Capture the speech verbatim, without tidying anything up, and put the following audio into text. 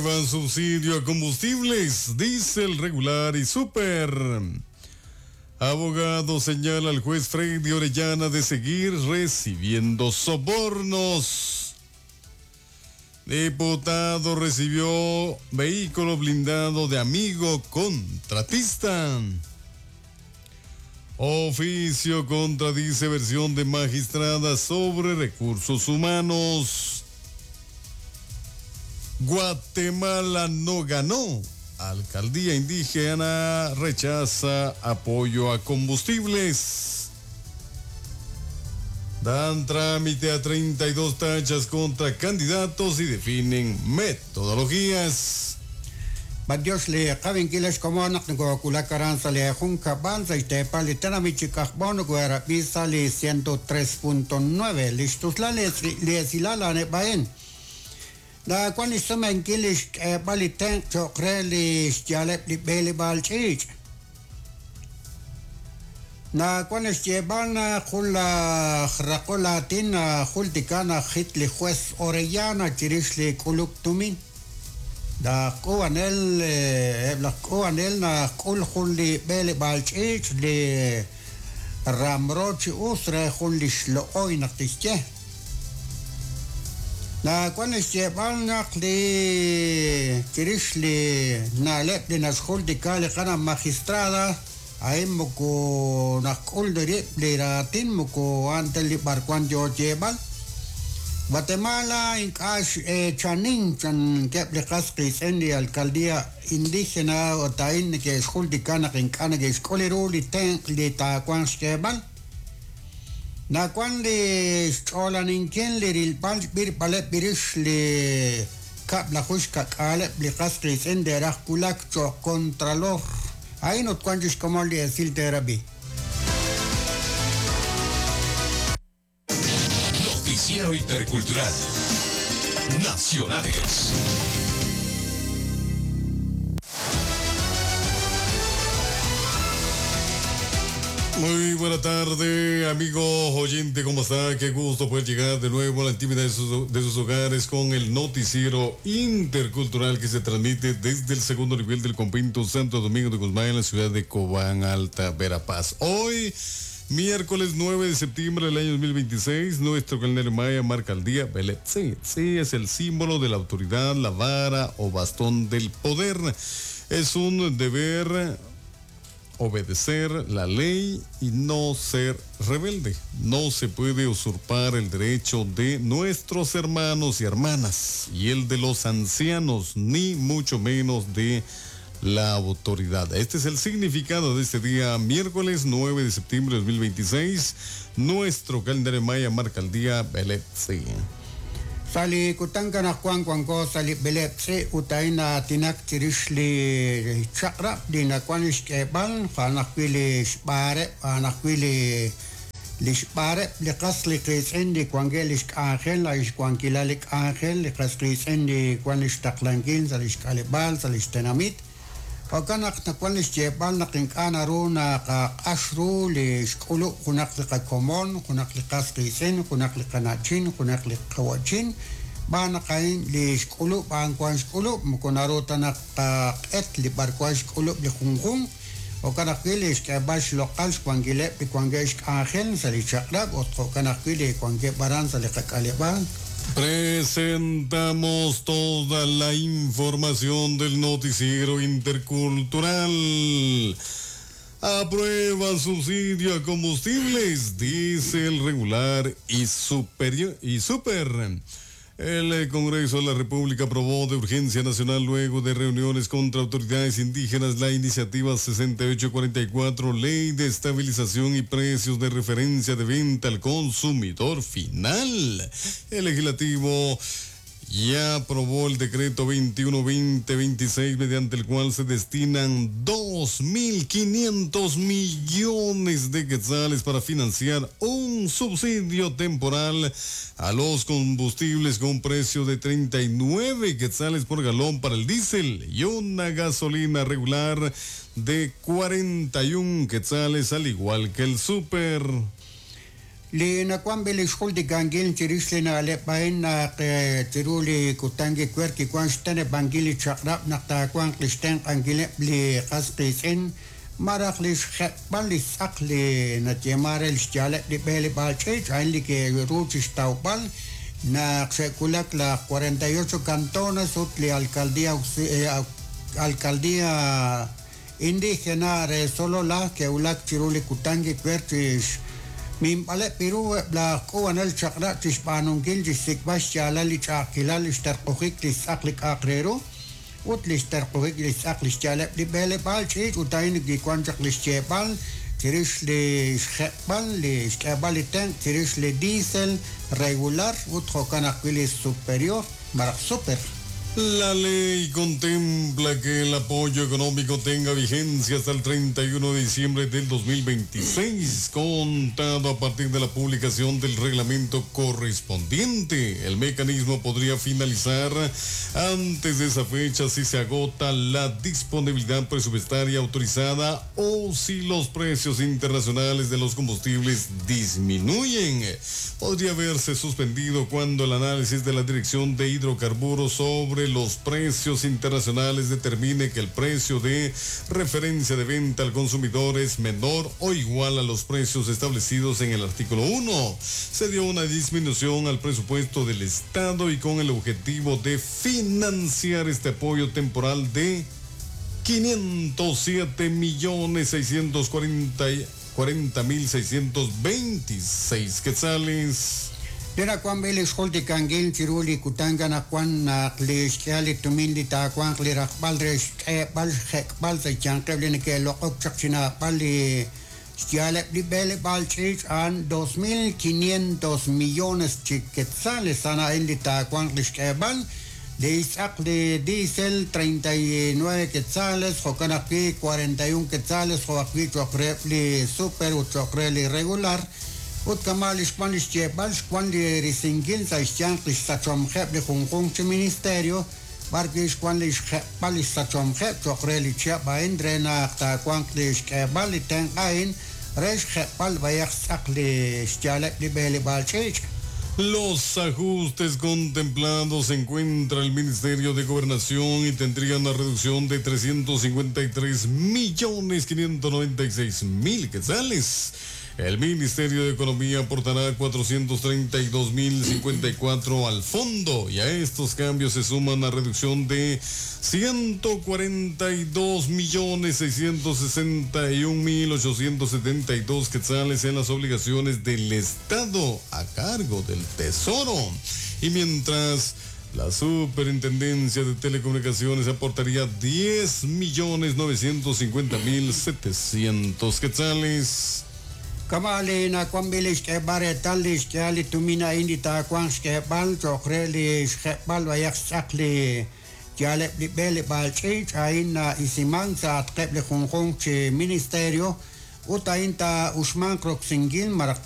Subsidio a combustibles, diésel regular y súper. Abogado señala al juez Freddy Orellana de seguir recibiendo sobornos. Diputado recibió vehículo blindado de amigo contratista. Oficio contradice versión de magistrada sobre recursos humanos. Guatemala no ganó. Alcaldía indígena rechaza apoyo a combustibles. Dan trámite a treinta y dos tachas contra candidatos y definen metodologías. Dios le qabinkilex komonaq nkuakulacaran sale junca banza y tepali tenamichicajbono guarapisa le ciento tres punto nueve listuslale lesilala nebaen. Da cuando sumenkilish baliten chokrelish yalep li beli balchich. Na cuando llevan jula racolatina julticana hitli juez Orellana chirishli kuluktumin. Da kuanel la kuanel na kul juli beli balchich li ramrochi usre juli shlooi naqtiche. Na cuando llevan li chirishli nalep li nasjultica li kana magistrada ahí moco nakul de li ratin moco ante li barcuan yo llevan Guatemala in cash chanin chan que li qasqis en li alcaldía indígena o tain que esjultica na en kana que escoleru li ten li ta cuan llevan Na cuan li xch'olaninkin li rilb'al b'ir b'irix li kab la jushka k'aleb li qasqis en de rajkulak cho contralor. Ahí no cuan como li decir terapi. Noticiero Intercultural Nacionales. Muy buena tarde, amigo oyente, ¿cómo está? Qué gusto poder llegar de nuevo a la intimidad de sus, de sus hogares con el noticiero intercultural que se transmite desde el segundo nivel del convento Santo Domingo de Guzmán en la ciudad de Cobán, Alta Verapaz. Hoy, miércoles nueve de septiembre del año dos mil veintiséis, nuestro calendario maya marca el día Beletzi. Sí, es el símbolo de la autoridad, la vara o bastón del poder. Es un deber obedecer la ley y no ser rebelde. No se puede usurpar el derecho de nuestros hermanos y hermanas y el de los ancianos, ni mucho menos de la autoridad. Este es el significado de este día, miércoles nueve de septiembre de dos mil veintiséis. Nuestro calendario maya marca el día Beletzi. Sali kutanka na kuan kuan ko sali belepse utaina tinak chirishli chakra di na kuan ishkebal fanakpili shpare fanakpili lishpare liqasli qisindi kuan gelish ángel la ishkuankilalik ángel liqasqisindi kuan ishtaqlankin sali ishkalibal sali ishtenamit Okanaq na kuan ishjebal na qink'ana runa qaq'ashru li xk'ulu junaq li qakomon junaq li qasqisin junaq li qanachin junaq li qawachin bana qain li xk'ulu b'an kuan xk'ulu mukunaruta naq qaq'et li barkuan xk'ulu li junjun okanaq wi li xk'eb'al xloq'al xkuankileb' li kuanke' xk'anjel sa li chaq'rab' ot jo'kanaq wi li kuankeb' b'aran sa li qak'aleb'al. Presentamos toda la información del noticiero intercultural. Aprueba subsidio a combustibles, diésel regular y superior y super. El Congreso de la República aprobó de urgencia nacional luego de reuniones contra autoridades indígenas la iniciativa sesenta y ocho cuarenta y cuatro, Ley de Estabilización y Precios de Referencia de Venta al Consumidor Final. El legislativo ya aprobó el decreto veintiuno veinte veintiséis, mediante el cual se destinan dos mil quinientos millones de quetzales para financiar un subsidio temporal a los combustibles con un precio de treinta y nueve quetzales por galón para el diésel y una gasolina regular de cuarenta y un quetzales, al igual que el súper. Li nakuan li xjultikankil chirix li na'leb' a'in naq chiru li kutan kiwer kiwan xteneb'ankil li chaq'rab' naq taawanq li xtenq'ankileb' li qas qiitz'in maraj li xjeb'al li tz'aq li nayeema re li xyaaleb' li b'eleb'aal ch'iich' a'in li ke'ru chixtawb'al naq xe'wulak la cuarenta y ocho cantones ut li alcaldía alcaldía indígena re Sololá ke'wulak chiru li kutan kiwer chix minb'aleb' piru la k'uwanel chaq'rab' chixb'aanunkil chixsik'b'al xyaalal li ch'a'ajkilal li xterq'ujik li tz'aq li k'a'aq re ru ut li xterq'ujik li tz'aq li xyaaleb' li b'eleb'aal ch'iich' ut a'in kiwan chaq li xyeeb'al chirix li xjeb'al li xk'eeb'al li tenq' chirix li diésel regular ut jo'kan ajwi' li superior maraj super. La ley contempla que el apoyo económico tenga vigencia hasta el treinta y uno de diciembre del dos mil veintiséis, contado a partir de la publicación del reglamento correspondiente. El mecanismo podría finalizar antes de esa fecha si se agota la disponibilidad presupuestaria autorizada o si los precios internacionales de los combustibles disminuyen. Podría verse suspendido cuando el análisis de la Dirección de Hidrocarburos sobre los precios internacionales determine que el precio de referencia de venta al consumidor es menor o igual a los precios establecidos en el artículo uno. Se dio una disminución al presupuesto del Estado y con el objetivo de financiar este apoyo temporal de quinientos siete millones seiscientos cuarenta mil seiscientos veintiséis quetzales. Lena kuan bele xjultikankil chiru li kutan kanaq naq li xk'ehal li tumin li taawanq li rajb'al re xk'eeb'al xjek'b'al sa' xyanqeb' li neke'loq'ok chaq chinaab'al li xyaaleb' li b'eleb'aal ch'iich' a'an dos mil quinientos millones chi quetzales a'an a'in li taawanq li xk'eeb'al li tz'aq li diésel treinta y nueve quetzales jo'kan ajwi' cuarenta y un quetzales jo' ajwi' cho'q reheb' li super ut cho'q re li regular ut kama' li xwan li xyeeb'al xwan li risinkil sa' xyanq li xsachomjeb' li junjunq chi ministerio b'arwi' xwan li xjeb'al li xsachomjeb' cho'q re li chihab' a'in re naq taawanq li xk'eeb'al li tenq' a'in re xjeb'al b'ayaq tz'aq li xyaaleb' li b'eleb'aal ch'iich'. Los ajustes contemplados se encuentra el Ministerio de Gobernación y tendría una reducción de trescientos cincuenta y tres millones quinientos noventa y seis mil quetzales. El Ministerio de Economía aportará cuatrocientos treinta y dos mil cincuenta y cuatro al fondo y a estos cambios se suma una reducción de ciento cuarenta y dos millones seiscientos sesenta y un mil ochocientos setenta y dos quetzales en las obligaciones del Estado a cargo del Tesoro. Y mientras, la Superintendencia de Telecomunicaciones aportaría diez millones novecientos cincuenta mil setecientos quetzales. Kama li nakuan bili xk'eeb'al reetal li xk'ehal li tumin a'in li taawanq xk'eeb'al cho'q re li xjeb'al b'ayaq xtz'aq li yaaleb' li b'eleb'aal ch'iich' a'in na'isiman sa' atqeb' li junjunq chi ministerio ut a'in taa'uxmanq roksinkil maraj